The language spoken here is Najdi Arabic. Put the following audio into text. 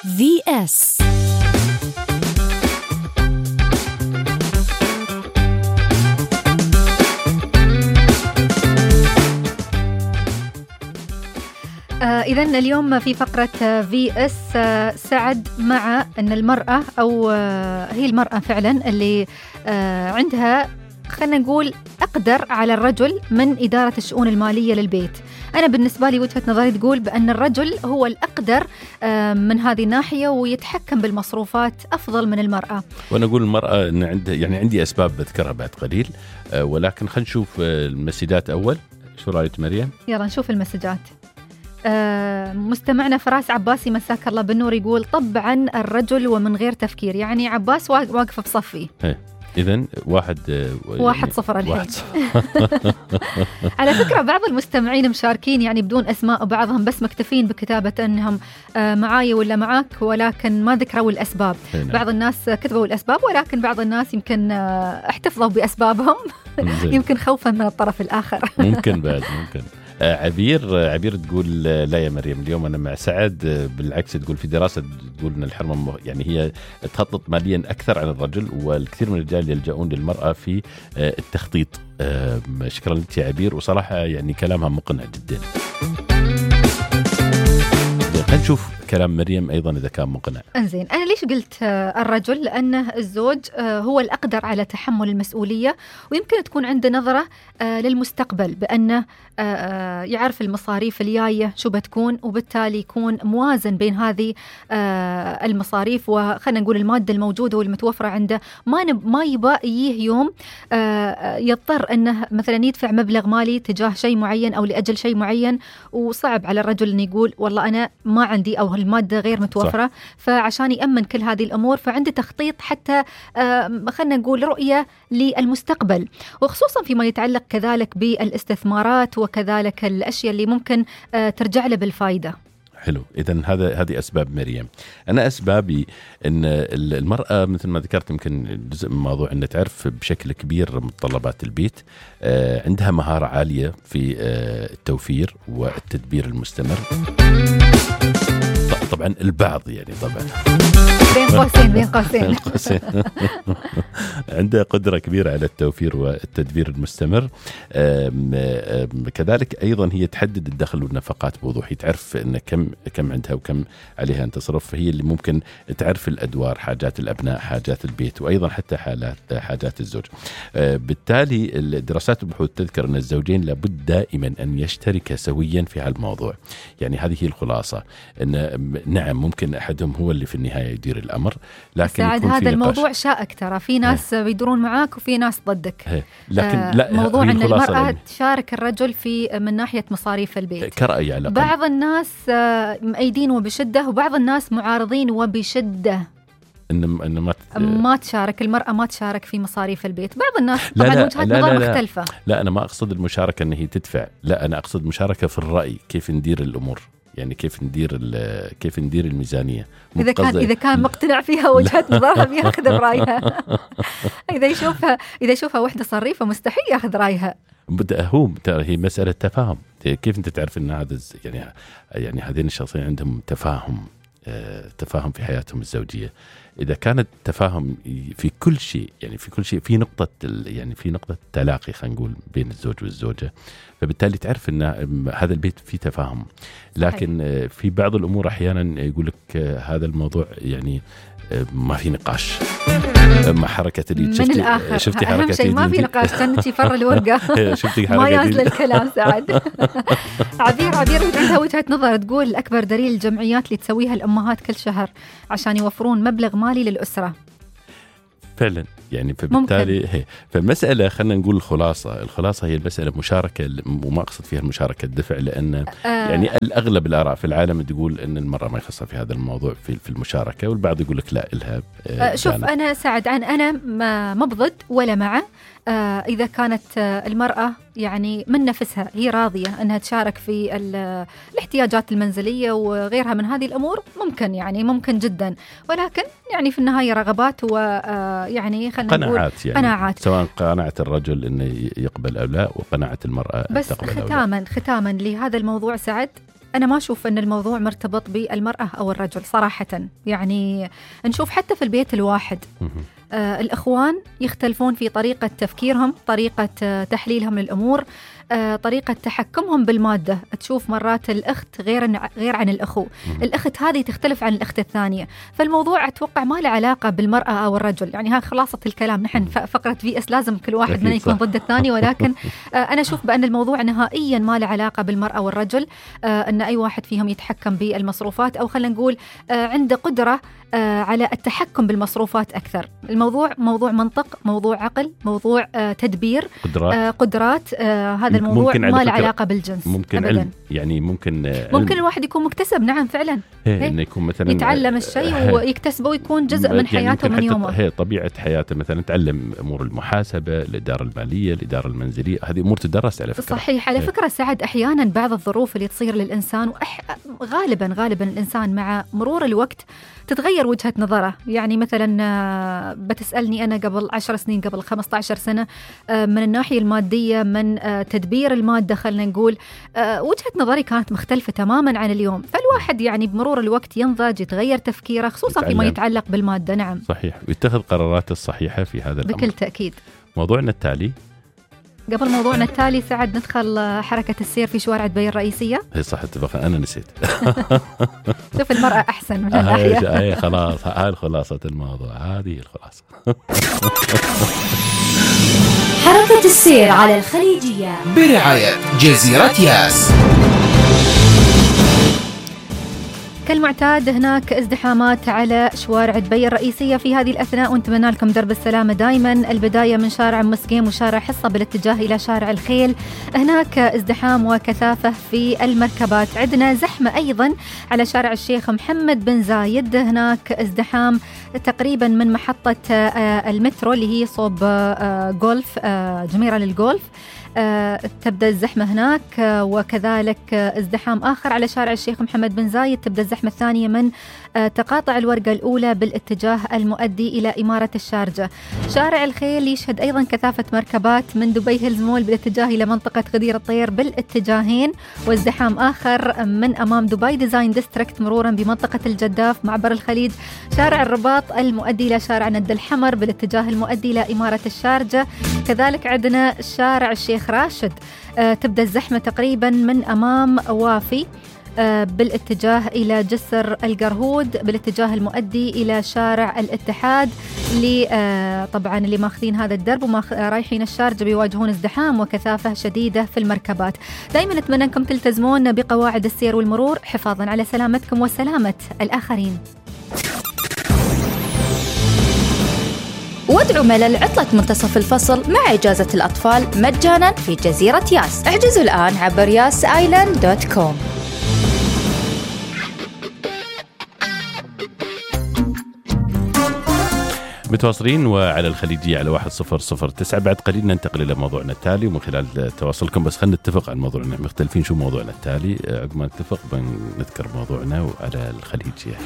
VS. إذن اليوم في فقرة VS سعد مع أن المرأة أو هي المرأة فعلا اللي عندها خلنا نقول أقدر على الرجل من إدارة الشؤون المالية للبيت. أنا بالنسبة لي وجهة نظري تقول بأن الرجل هو الأقدر من هذه الناحية ويتحكم بالمصروفات أفضل من المرأة. وأنا أقول المرأة إن عندي أسباب بذكرها بعد قليل، ولكن خلينا نشوف المسجات أول. شو رأيك مريم؟ يلا نشوف المسجات. مستمعنا فراس عباسي مساك الله بالنور يقول طبعا الرجل ومن غير تفكير، يعني عباس واقف بصفي. إذن واحد صفر الحين. على فكرة بعض المستمعين مشاركين يعني بدون أسماء، وبعضهم بس مكتفين بكتابة أنهم معاي ولا معاك، ولكن ما ذكروا الأسباب. بعض الناس كتبوا الأسباب، ولكن بعض الناس يمكن احتفظوا بأسبابهم يمكن خوفا من الطرف الآخر. ممكن بعد ممكن. عبير تقول لا يا مريم اليوم أنا مع سعد، بالعكس تقول في دراسة تقول أن الحرمة يعني هي تخطط ماليا أكثر عن الرجل، والكثير من الرجال يلجؤون للمرأة في التخطيط. شكرا لك يا عبير، وصراحة يعني كلامها مقنع جدا. خلينا نشوف كلام مريم أيضا إذا كان مقنع. انزين، أنا ليش قلت الرجل؟ لأنه الزوج هو الأقدر على تحمل المسؤولية، ويمكن تكون عنده نظرة للمستقبل بأنه يعرف المصاريف الجاية شو بتكون، وبالتالي يكون موازن بين هذه المصاريف وخلنا نقول المادة الموجودة والمتوفرة عنده. ما يبقى يجيه يوم يضطر أنه مثلا يدفع مبلغ مالي تجاه شيء معين أو لأجل شيء معين، وصعب على الرجل أن يقول والله أنا ما عندي أو المادة غير متوفرة. صح. فعشان يأمن كل هذه الأمور فعنده تخطيط، حتى خلنا نقول رؤية للمستقبل، وخصوصا فيما يتعلق كذلك بالاستثمارات وكذلك الأشياء اللي ممكن ترجع له بالفائدة. حلو. إذن هذه أسباب مريم. أنا أسبابي أن المرأة مثل ما ذكرت يمكن جزء من الموضوع أن تعرف بشكل كبير متطلبات البيت، عندها مهارة عالية في التوفير والتدبير المستمر. طبعا البعض يعني طبعا بين قوسين عنده قدرة كبيرة على التوفير والتدبير المستمر. كذلك أيضا هي تحدد الدخل والنفقات بوضوح، تعرف إن كم عندها وكم عليها أن تصرف، فهي اللي ممكن تعرف الأدوار، حاجات الأبناء، حاجات البيت، وأيضا حتى حاجات الزوج. بالتالي الدراسات والبحوث تذكر أن الزوجين لابد دائما أن يشتركا سويا في هالموضوع. يعني هذه هي الخلاصة، أن نعم ممكن أحدهم هو اللي في النهاية يدير الأمر، لكن يكون هذا الموضوع شائك ترى، في ناس بيدورون معاك وفي ناس ضدك. لكن لا، موضوع أن المرأة تشارك الرجل في من ناحية مصاريف البيت كرأي على بعض الناس مأيدين وبشدة، وبعض الناس معارضين وبشدة إن ما تشارك المرأة، ما تشارك في مصاريف البيت. بعض الناس طبعا وجهات نظر مختلفة. لا أنا ما أقصد المشاركة أن هي تدفع، لا أنا أقصد مشاركة في الرأي، كيف ندير الأمور، يعني كيف ندير الميزانية. إذا كان مقتنع فيها وجهة نظرها بياخذ برأيها. إذا يشوفها وحدة صريفة مستحيل ياخذ رأيها. هي مسألة تفاهم. كيف أنت تعرف أن هذا يعني هذين الشخصين عندهم تفاهم في حياتهم الزوجية؟ إذا كانت تفاهم في كل شيء، يعني في نقطة تلاقي خلينا نقول بين الزوج والزوجة، فبالتالي تعرف أن هذا البيت فيه تفاهم. لكن في بعض الأمور أحيانا يقول لك هذا الموضوع يعني ما في نقاش مع حركة اليد. شفتي حركة اليد؟ شيء ما في نقاش، تنتي فر الورقة. شفتي حركة ما ينزل الكلام سعد. عبير عندها وجهة نظر تقول أكبر دليل الجمعيات اللي تسويها الأمهات كل شهر عشان يوفرون مبلغ مالي للأسرة. فعلا يعني فبالتالي فالمسألة خلينا نقول الخلاصة هي المسألة مشاركة، وما أقصد فيها المشاركة الدفع، لأن يعني الأغلب الآراء في العالم تقول أن المرأة ما يخصها في هذا الموضوع في المشاركة، والبعض يقول لك لا إلها. شوف أنا سعد أنا ما بضد ولا مع. إذا كانت المرأة يعني من نفسها هي راضية أنها تشارك في الاحتياجات المنزلية وغيرها من هذه الأمور، ممكن جدا، ولكن يعني في النهاية رغبات ويعني خلينا نقول قناعات، سواء قناعة الرجل أنه يقبل أو لا، وقناعة المرأة بس تقبل أو لا. ختاما لهذا الموضوع سعد، أنا ما أشوف أن الموضوع مرتبط بالمرأة أو الرجل صراحة. يعني نشوف حتى في البيت الواحد الإخوان يختلفون في طريقة تفكيرهم، طريقة تحليلهم للأمور، طريقة تحكمهم بالمادة. تشوف مرات الأخت غير عن الأخو، الأخت هذه تختلف عن الأخت الثانية. فالموضوع أتوقع ما له علاقة بالمرأة أو الرجل. يعني ها خلاصة الكلام. نحن فقرة VS لازم كل واحد منا يكون ضد الثاني، ولكن أنا أشوف بأن الموضوع نهائيا ما له علاقة بالمرأة والرجل. أن أي واحد فيهم يتحكم بالمصروفات، أو خلينا نقول عنده قدرة على التحكم بالمصروفات أكثر. الموضوع موضوع منطق، موضوع عقل، موضوع تدبير، قدرات. هذا الموضوع ما له علاقة بالجنس. ممكن علم، يعني ممكن الواحد يكون مكتسب. نعم فعلا، إنه يكون مثلا يتعلم الشيء ويكتسبه ويكون جزء من حياته من يومه. هي طبيعة حياته، مثلا تعلم أمور المحاسبة، الإدارة المالية، الإدارة المنزلية، هذه أمور تدرس على فكرة. صحيح. على فكرة سعد، أحيانا بعض الظروف اللي تصير للإنسان غالبا الإنسان مع مرور الوقت تتغير وجهة نظره. يعني مثلا بتسألني أنا قبل 10 سنين، قبل 15 سنة، من الناحية المادية، من تدبير المادة، خلنا نقول وجهة نظري كانت مختلفة تماما عن اليوم. فالواحد يعني بمرور الوقت ينضج، يتغير تفكيره، خصوصا فيما يتعلق بالمادة. نعم صحيح، ويتخذ قرارات الصحيحة في هذا الأمر بكل تأكيد. موضوعنا التالي، قبل موضوعنا التالي سعد، ندخل حركة السير في شوارع دبي الرئيسية. هي صح، اتفقنا، أنا نسيت. شوف المرأة أحسن من الناحية. خلاص، هاي خلاصة الموضوع، هذه الخلاصة. حركة السير على الخليجية برعاية جزيرة ياس. كالمعتاد هناك ازدحامات على شوارع دبي الرئيسية في هذه الأثناء، ونتمنى لكم درب السلامة دائما. البداية من شارع مسقيم وشارع حصة بالاتجاه إلى شارع الخيل، هناك ازدحام وكثافة في المركبات. عندنا زحمة أيضا على شارع الشيخ محمد بن زايد، هناك ازدحام تقريبا من محطة المترو اللي هي صوب جولف، جميرة للجولف، تبدأ الزحمة هناك. وكذلك ازدحام آخر على شارع الشيخ محمد بن زايد، تبدأ الزحمة الثانية من تقاطع الورقة الأولى بالاتجاه المؤدي إلى إمارة الشارجة. شارع الخيل يشهد أيضا كثافة مركبات من دبي هيلز مول بالاتجاه إلى منطقة غدير الطير بالاتجاهين، وازدحام آخر من أمام دبي ديزاين ديستريكت مرورا بمنطقة الجداف معبر الخليج. شارع الرباط المؤدي إلى شارع ند الحمر بالاتجاه المؤدي إلى إمارة الشارجة. كذلك عندنا شارع الشيخ راشد، تبدأ الزحمة تقريبا من أمام وافي بالاتجاه إلى جسر القرهود بالاتجاه المؤدي إلى شارع الاتحاد. طبعا اللي ماخذين هذا الدرب ورايحين الشارجة بيواجهون ازدحام وكثافة شديدة في المركبات. دائما نتمنى أنكم تلتزمون بقواعد السير والمرور حفاظا على سلامتكم وسلامة الآخرين. وادعوا ملل عطلة منتصف الفصل مع إجازة الأطفال مجانا في جزيرة ياس. احجزوا الآن عبر yasisland.com. متواصلين وعلى الخليجية على 1009. بعد قليل ننتقل إلى موضوعنا التالي، ومن خلال تواصلكم بس خلينا نتفق عن موضوعنا، مختلفين شو موضوعنا التالي، عقب ما نتفق بنذكر موضوعنا على الخليجية.